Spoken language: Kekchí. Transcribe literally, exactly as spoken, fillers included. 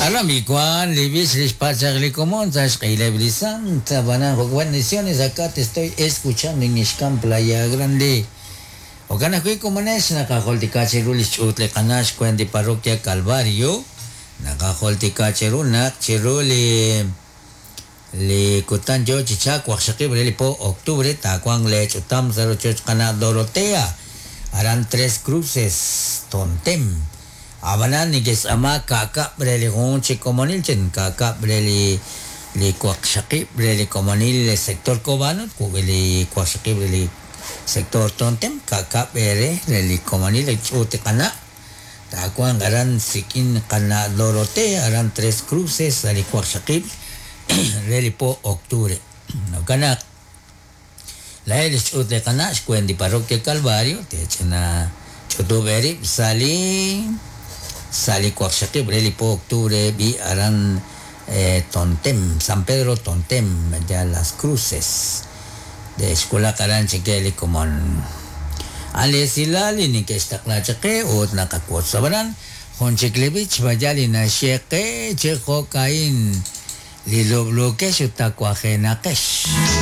Aramikuan, libis lixpachaqlikomon, sashqileblisanta, bananjo, bendiciones, acá te estoy escuchando en Ixcán, Playa Grande. Okanajwi komonex naqajoltikachiru lixch'uut li qanax xkwendi parroquia Calvario naqajoltikachiru naq chiru li li kutan yo chi chaak waqxaqib' re li po octubre taawanq lech'utam sa' rochoch qana' Dorotea aran Tres Cruces Tontem abanan nikes'ama ka'kab' re li jun chi komonil chin ka'kab' re li li waqxaqib' re li komonil sector Cobano li waqxaqib' re li sector Tontem ka'kab' re re li komonil ch'uut li qana' taawanq aran sik'in qana' Dorotea aran Tres Cruces sa' li waqxaqib' re li po octubre jo'kan naq laa'ej li xch'uut li qana' xkwendi parroquia Calvario tech'ina ch'utub' eerib' sa' li sa' li waqxaqib' re li po octubre bi aran eh, Tontem San Pedro Tontem ya Las Cruces de xwulaq aran chike li komon alesilal li neke'xtaqla chaqe ut naqawotz'abaran jun chik li b'ich vaya li naxyeqe chi jo'ka'in li lub'luukex ut tawajenaqex.